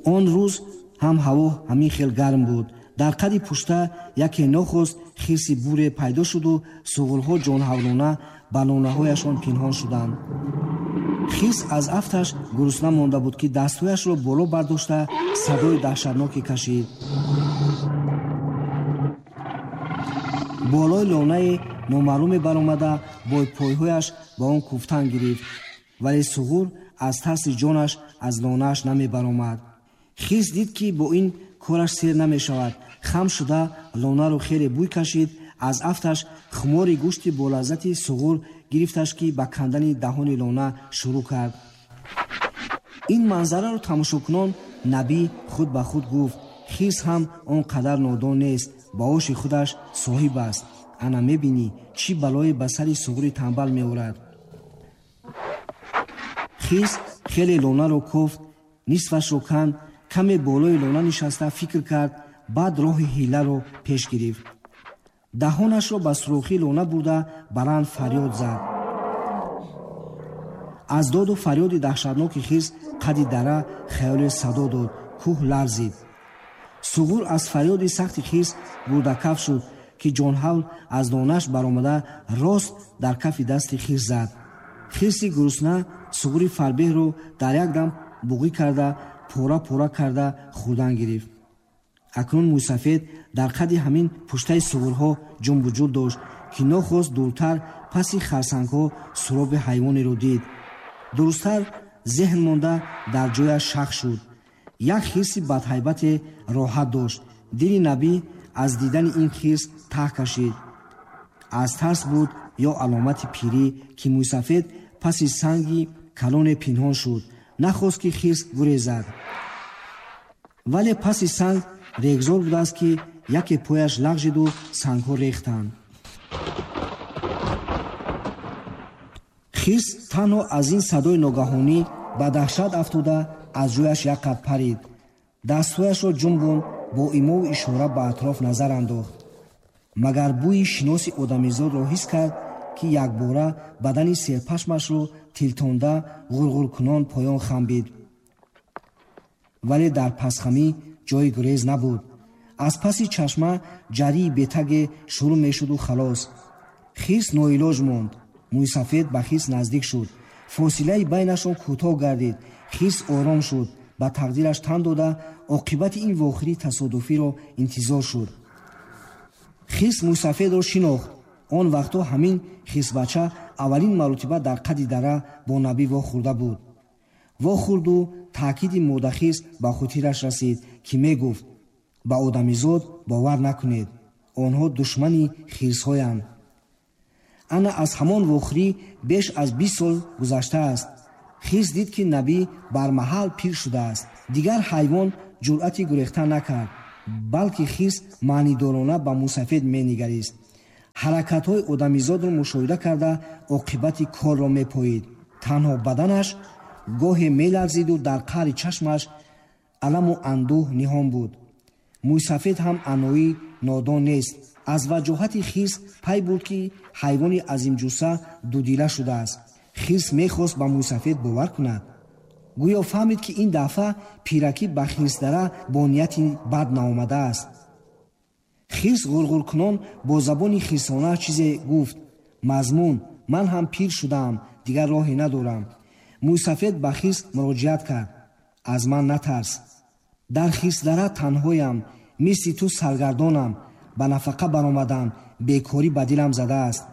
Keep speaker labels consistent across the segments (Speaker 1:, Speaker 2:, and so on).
Speaker 1: Он рӯз ҳам ҳаво ҳамин хел гарм буд. Дар қади пушта яке нохост хирси буре пайдо шуду суғурҳо ҷонҳавлона ба лонаҳояшон пинҳон шуданд. Хирс аз афташ гурусна монда буд, ки дастҳояшро боло бардошта садои даҳшатноке кашид. Болои лонае номаълуме баромада бо пойҳояш ба он куфтан гирифт, вале суғур аз тарси ҷонаш аз лонааш намебаромад. Хирс дид, ки бо ин кораш сер намешавад. Хам шуда лонаро хеле бӯй кашид. Аз афташ хумори гӯшти болаззати суғур гирифташ, ки ба кандани даҳони лона шурӯъ кард. Ин манзараро тамошокунон Набӣ худ ба худ гуфт: хирс ҳам он қадар нодон нест, ба оши худаш соҳиб аст. Ана мебинӣ, чӣ балое ба сари суғури танбал меорад. Хирс хеле лонаро кофт, нисфашро канд, каме болои лона нишаста фикр кард, баъд роҳи ҳиларо пеш гирифт. Даҳонашро ба сурохи лона бурда баланд фарёд зад. Аз доду фарёди даҳшатноки хирс қади дара хаёле садо дод, кӯҳ ларзид. Суғур аз фарёди сахти хирс гурдакаф шуд, ки ҷонҳавл аз лонаш баромада рост дар кафи дасти хирс зад. Хирси гурусна суғури фарбеҳро дар як дам буғӣ карда, пора пора карда хӯрдан гирифт. Акнун мӯйсафед дар қади ҳамин пуштаи суғурҳо ҷунбуҷул дошт, ки нохост дуртар паси харсангҳо суроби ҳайвонеро дид. Дурусттар зеҳн монда дар ҷояш шах шуд. Як хирси бадҳайбате роҳат дошт. Дили Набӣ аз дидани ин хирс таҳ кашид. Аз тарс буд ё аломати пирӣ, ки мӯйсафед паси санги калоне пинҳон шуд. Нахост, ки хирс гурезад, вале паси санг регзор будааст, ки яке пояш лағжиду сангҳо рехтанд. Хирс танҳо аз ин садои ногаҳонӣ ба даҳшат афтода аз ҷояш як қад парид. Дастҳояшро ҷунбонд, бо имову ишора ба атроф назар андохт. Магар бӯи шиноси одамизодро ҳис кард, ки якбора бадани серпашмашро тилтонда ғурғуркунон поён хамбид. Вале дар пасхамӣ ҷои гурез набуд. Аз паси чашма ҷарии бетаге шурӯъ мешуду халос. Хирс ноилоҷ монд. Мӯйсафед ба хирс наздик шуд. Фосилаи байнашон кӯтоҳ гардид. Хирс ором шуд, ба тақдираш тан дода оқибати ин вохӯрии тасодуфиро интизор шуд. Хирс мӯйсафедро шинохт. Он вақтҳо ҳамин хирсбача аввалин маротиба дар қади дара бо Набӣ вохӯрда буд. Вохӯрду таъкиди модахирс ба хотираш расид, ки мегуфт: ба одамизод бовар накунед, онҳо душмани хирсҳоянд. Ана аз ҳамон вохӯрӣ беш аз 20 сол гузаштааст. Хирс дид, ки Набӣ бармаҳал пир шудааст. Дигар ҳайвон ҷуръати гурехта накард, балки хирс маънидорона ба мӯйсафед менигарист. Ҳаракатҳои одамизодро мушоҳида карда оқибати корро мепоид. Танҳо баданаш гоҳе меларзиду дар қаъри чашмаш аламу андӯҳ ниҳон буд. Мӯйсафед ҳам аноӣ нодон нест. Аз ваҷоҳати хирс пай бурд, ки ҳайвони азимҷусса дудила шудааст. Хирс мехост ба мӯйсафед бовар кунад. Гӯё фаҳмид, ки ин дафъа пиракӣ ба хирсдара бо нияти бад наомадааст. Хирс ғурғуркунон бо забони хирсона чизе гуфт. Мазмун: ман ҳам пир шудаам, дигар роҳе надорам. Мӯйсафед ба хирс муроҷиат кард: аз ман натарс, дар хирсдара танҳоям, мисли ту саргардонам, ба нафақа баромадам, бекорӣ ба дилам задааст.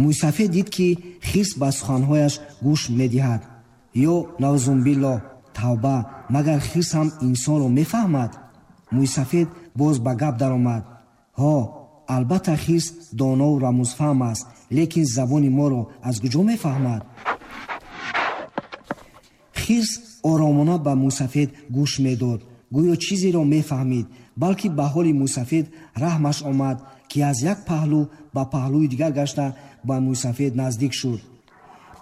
Speaker 1: Мӯйсафед дид, ки хирс ба суханҳояш гӯш медиҳад. Ё навзумбиллоҳ, тавба, магар хирс ҳам инсонро мефаҳмад? Мӯйсафед боз ба гап даромад: ҳо, албатта хирс донову рамузфаҳм аст, лекин забони моро аз куҷо мефаҳмад? Хирс оромона ба мӯйсафед гӯш медод, гӯё чизеро мефаҳмид, балки ба ҳоли мӯйсафед раҳмаш омад, ки аз як паҳлӯ ба паҳлӯи дигар гашта ба мӯйсафед наздик шуд.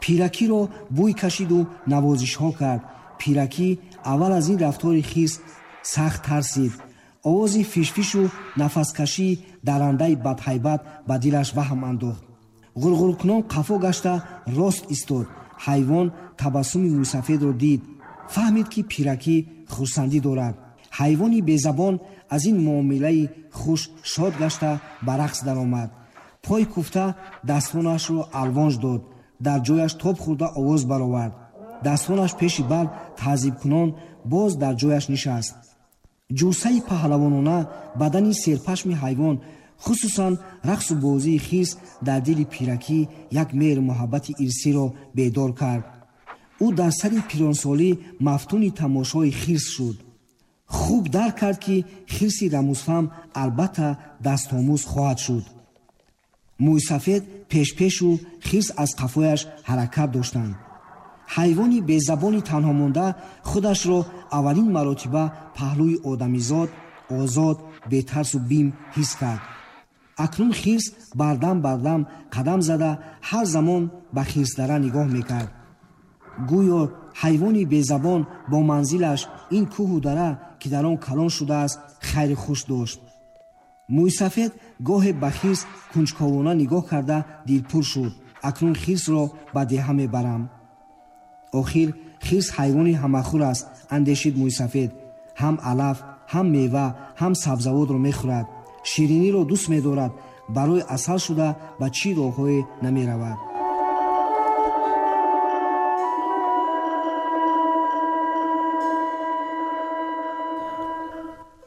Speaker 1: Пиракиро бӯй кашиду навозишҳо кард. Пиракӣ аввал аз ин рафтори хирс сахт тарсид. Овози фишфишу нафаскашии дарандаи бадҳайбат ба дилаш ваҳм андохт. Ғурғуркунон қафо гашта рост истод. Ҳайвон табассуми мӯйсафедро дид, фаҳмид, ки пиракӣ хурсандӣ дорад. Ҳайвони безабон аз ин муомилаи хуш шод гашта ба рақс даромад. Пой куфта дастонашро алвонж дод, дар ҷояш тоб хӯрда овоз баровард. Дастонаш пеши бар таъзибкунон боз дар ҷояш нишаст. Ҷусаи паҳлавонона, бадани серпашми ҳайвон, хусусан рақсу бозии хирс дар дили пиракӣ як меҳру муҳаббати ирсиро бедор кард. Ӯ дар сари пиронсолӣ мафтуни тамошои хирс шуд. Хуб дарк кард, ки хирси рамузфаҳм албатта дастомӯз хоҳад шуд. Мӯйсафед пешпешу хирс аз қафояш ҳаракат доштанд. Ҳайвони безабони танҳомонда худашро аввалин маротиба паҳлӯи одамизод озод, бетарсу бим ҳис кард. Акнун хирс бардам бардам қадам зада ҳар замон ба хирсдара нигоҳ мекард. Гӯё ҳайвони безабон бо манзилаш ин кӯҳу дара, ки дар он калон шудааст, хайри хуш дошт. Мӯйсафед гоҳе ба хирс кунҷковона нигоҳ карда дилпур шуд. Акнун хирсро ба деҳа мебарам. Охир хирс ҳайвони ҳамахӯр аст, андешид мӯйсафед. Ҳам алаф, ҳам мева, ҳам сабзавотро мехӯрад. Шириниро дӯст медорад, барои асал шуда ба чӣ роҳҳое намеравад.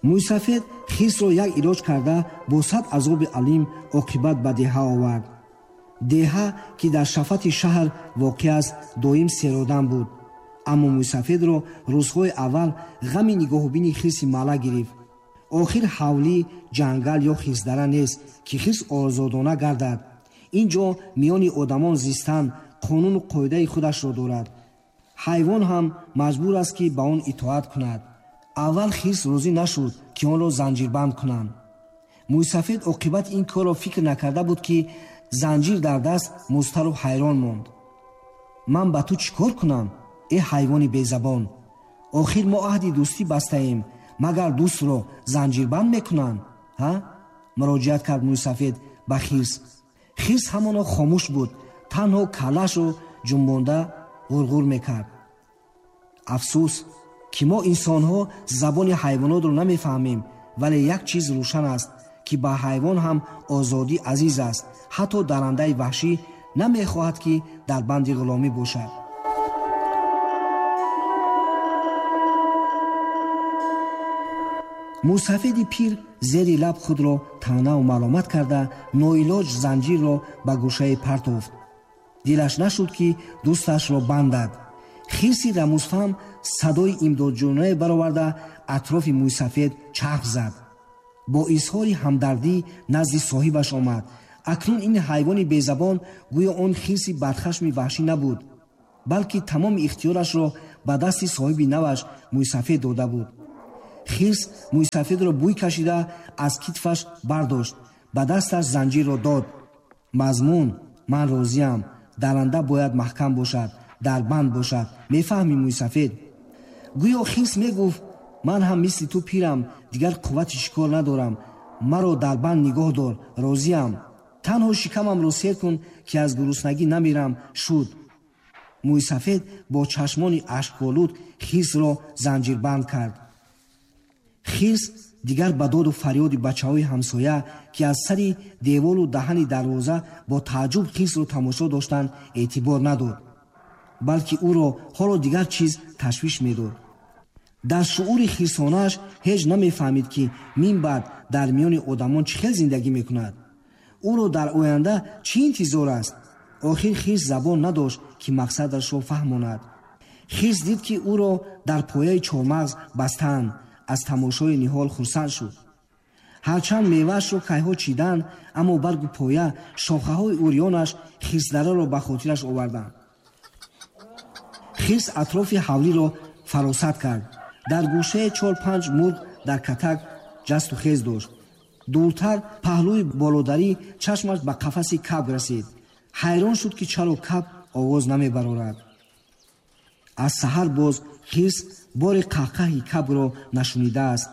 Speaker 1: Мӯйсафед хирсро як илоҷ карда бо сад азоби алим оқибат ба деҳа овард. Деҳа, ки дар шафати шаҳр воқеъ аст, доим серодам буд. Аммо мӯйсафедро рӯзҳои аввал ғами нигоҳубини хирси маъла гирифт. Охир ҳавлӣ, ҷангал ё хирсдара нест, ки хирс озодона гардад. Ин ҷо миёни одамон зистан қонуну қоидаи худашро дорад. Ҳайвон ҳам маҷбур аст, ки ба он итоат кунад. Аввал хирс розӣ нашуд, ки онро занҷирбанд кунанд. Мӯйсафед оқибати ин корро фикр накарда буд, ки занҷир дар даст музтару ҳайрон монд. Ман ба ту чӣ кор кунам, э ҳайвони безабон? Охир мо аҳди дӯстӣ бастаем, магар дӯстро занҷирбанд мекунанд? Ҳа? Муроҷиат кард мӯйсафед ба хирс. Хирс ҳамоно хомӯш буд, танҳо каллаашро ҷунбонда ғурғур мекард. Афсӯс, ки мо инсонҳо забони ҳайвонотро намефаҳмем, вале як чиз рӯшан аст, ки ба ҳайвон ҳам озодӣ азиз аст. Ҳатто дарандаи ваҳшӣ намехоҳад, ки дар банди ғуломӣ бошад. Мӯйсафеди пир зери лаб худро таънаву маломат карда ноилоҷ занҷирро ба гӯшае партофт. Дилаш нашуд, ки дӯсташро бандад. Хирси рамузфаҳм садои имдодҷӯёнае бароварда атрофи мӯйсафед чарх зад. Бо изҳори ҳамдардӣ назди соҳибаш омад. Акнун ин ҳайвони безабон гӯё он хирси бадхашми ваҳшӣ набуд, балки тамоми ихтиёрашро ба дасти соҳиби наваш мӯйсафед дода буд. Хирс мӯйсафедро бӯй кашида аз китфаш бардошт, ба дасташ занҷирро дод. Мазмун: ман розиям, даранда бояд маҳкам бошад, дар банд бошад. Мефаҳмӣ, мӯйсафед? Гӯё хирс мегуфт: ман ҳам мисли ту пирам, дигар қуввати шикор надорам, маро дар банд нигоҳ дор, розиям. Танҳо шикамамро сер кун, ки аз гуруснагӣ намирам. Шуд. Мӯйсафед бо чашмони ашколуд хирсро занҷирбанд кард. Хирс дигар ба доду фарёди бачаҳои ҳамсоя, ки аз сари девору даҳани дарвоза бо тааҷҷуб хирсро тамошо доштанд, эътибор надод, балки ӯро ҳоло дигар чиз ташвиш медод. Дар шуури хирсонааш ҳеҷ намефаҳмид, ки мин баъд дар миёни одамон чӣ хел зиндагӣ мекунад. Ӯро дар оянда чӣ интизор аст? Охир хирс забон надошт, ки мақсадашро фаҳмонад. Хирс дид, ки ӯро дар пояи чормағз бастаанд. Аз тамошои ниҳол хурсанд шуд. Ҳарчанд меваашро кайҳо чиданд, аммо баргу поя, шохаҳои урёнаш хирсдараро ба хотираш оварданд. Хирс атрофи ҳавлиро фаросат кард. Дар гӯшаи 4-5 мурғ дар катак ҷасту хез дошт. Дуртар паҳлӯи болодарӣ чашмаш ба қафаси кабк расид. Ҳайрон шуд, ки чаро кабк овоз намебарорад. Аз саҳар боз хирс бори қаҳқаҳи кабкро нашунидааст.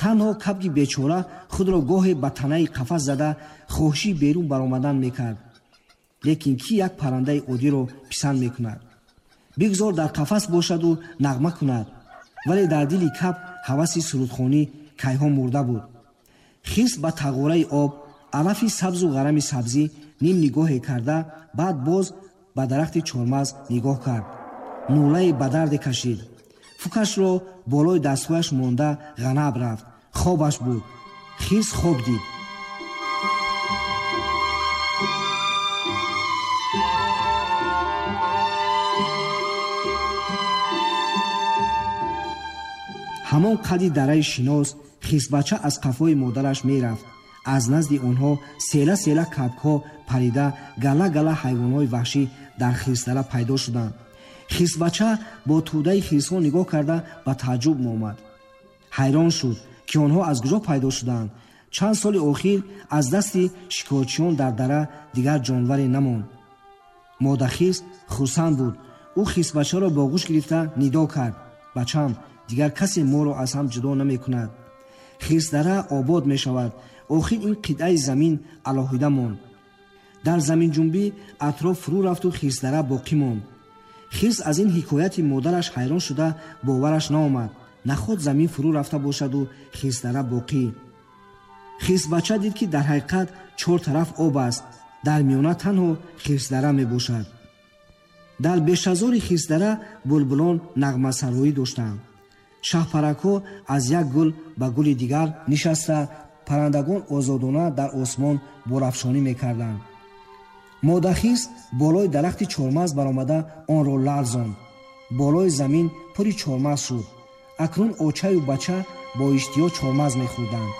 Speaker 1: Танҳо кабки бечора худро гоҳе ба танаи қафас зада хоҳиши берун баромадан мекард. Лекин кӣ як паррандаи оддиро писанд мекунад? Бигзор дар қафас бошаду нағма кунад. Вале дар дили кабк ҳаваси сурудхонӣ кайҳо мурда буд. Хирс ба тағораи об, алафи сабзу ғарами сабзӣ ним нигоҳе карда, баъд боз ба дарахти чормағз нигоҳ кард. Нулае ба дарде кашид. Фукашро болои дастҳояш монда ғанаб рафт. Хобаш буд. Хирс хоб дид. Ҳамон қади дараи шинос хирсбача аз қафои модараш мерафт. Аз назди онҳо села-села кабкҳо парида, гала-гала ҳайвонҳои ваҳшӣ дар хирсдара пайдо шуданд. Хирсбача бо тӯдаи хирсҳо нигоҳ карда ба тааҷҷуб омад. Ҳайрон шуд, ки онҳо аз куҷо пайдо шуданд. Чанд соли охир аз дасти шикорчиён дар дара дигар ҷонваре намонд. Модахирс хурсанд буд. Ӯ хирсбачаро ба оғӯш гирифта нидо кард: бачам, дигар касе моро аз ҳам ҷудо намекунад. Хирсдара обод мешавад. Охир ин қитъаи замин алоҳида монд. Дар заминҷунбӣ атроф фурӯ рафту хирсдара боқӣ монд. Хирс аз ин ҳикояти модараш ҳайрон шуда бовараш наомад. Наход замин фурӯ рафта бошаду хирсдара боқӣ. Хирсбача дид, ки дар ҳақиқат чор тараф об аст, дар миёна танҳо хирсдара мебошад. Дар бешазори хирсдара булбулон нағмасароӣ доштанд. Шаҳпаракҳо аз як гул ба гули дигар нишаста, паррандагон озодона дар осмон борафшонӣ мекарданд. Модахирс болои дарахти чормағз баромада онро ларзонд. Болои замин пури чормағз шуд. Акнун очаю бача бо иштиҳо чормағз мехӯрданд.